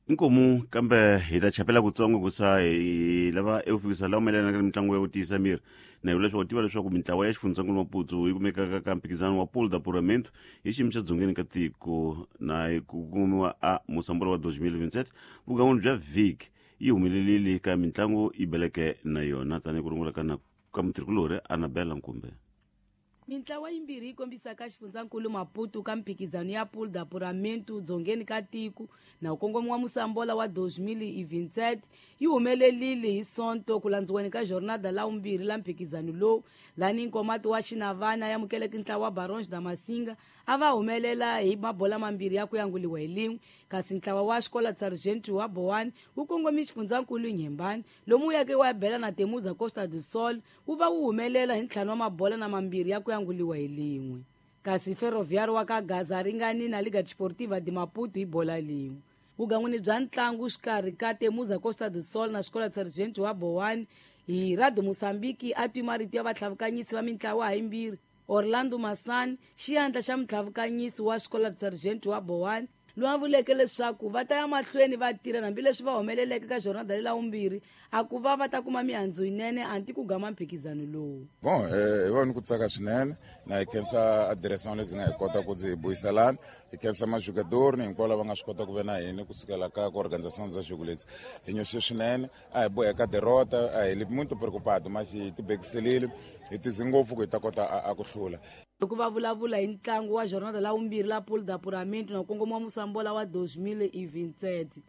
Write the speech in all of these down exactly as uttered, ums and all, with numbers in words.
Inkomu kambe hi ta chapela kutsongo ku sa hi lava eku fikisa laha mayelana na mitlangu ya ku tiyisa miri na hi leswaku tiva leswaku mintlawa ya xifundzankulu Maputo yi kumekaka ka mphikizano wa Pool d'Apuramento hi xiyimo xa dzongeni ka tiko na hi ku kumiwa a Mosambola wa twenty twenty-seven. Vugan'wini bya vhiki yi humelelile ka mitlangu yi beleke na yona tanihi ku rungula ka na ka mutirhikulorhi Anabela Nkumbe. Mintlawa yimbirhi yi kombisaka xifundzankulu Maputo ka mphikizano ya Pool d'Apuramento dzongeni ka tiko na ku kongomiwa Mosambola wa twenty twenty-seven yi humelelile hi Sonto ku landziweni ka jornada la vumbirhi la mphikizano lowu, lani Nkomati wa Xinavana ya amukeleke ntlawa wa Barões da Masinga a va humelela hi mabola mambirhi ya ku yanguliwa hi lin'we, kasi ntlawa wa Xikola Sargento wa Boane wu kongomi xifundzankulu Inhambane lomu wu yake wa bela na Temuza Costa do Sol wu va wu humelela hi ntlhanu wa mabola na mambirhi ya ku yanguliwa hi lin'we, kasi Ferroviário wa ka Gaza ringani na Liga Desportiva de Maputo hi bola lin'we. Vugan'wini bya ntlangu xikarhi ka Temuza Costa do Sol na Xikola Sargento wa Boane hi Radio Mosambiki a twi marito ya vatlhavukanyisi va mintlawa hayimbirhi. Orlando Masani, xiyandla xa mutlhavukanyisi wa Xikola Sargento wa Boane, loyi a vuleke leswaku va ta ya mahlweni va tirha hambileswi va humeleleke ka jornada lela vumbirhi a ku va va ta kuma mihandzu yinene anti ku gama mphikizano lowu. Bon, eh, hi vona ku tsaka swinene na hi khensa a direção lezi nga hi kota ku ndzi hi buyiselana, hi khensa majogador ni hinkwavo lava nga swi kota ku ve na hina kusukela ka ku organização za jogo leti hi nyoxe swinene. A hi boheka derrota, a hi li muito preocupado, mas hi tibekiselile, hi tize ngopfu ku hi ta kota a, a ku hlula. Loko va vulavula hi ntlangu wa jornada la vumbirhi la Pool d'Apuramento na kongoma wa Mosambola wa twenty twenty-seven,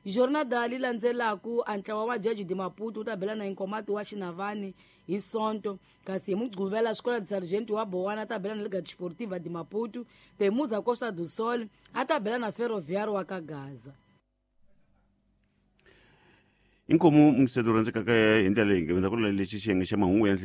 jornada li landzelaku a ntlawa wa Jaji de Maputo wu ta bela na Inkomati wa Xinavani hi Sonto, kasi hi Mugquvela Xikola de Sargento wa Bowana a ta bela na Liga Desportiva de Maputo, Temuza Costa do Sol a ta bela na Ferroviário wa ka Gaza. Inkomu mungiseto rhandzekaka hi ndlela leyi nge ku lexi xiyenge xa mahungu ya nhlikani.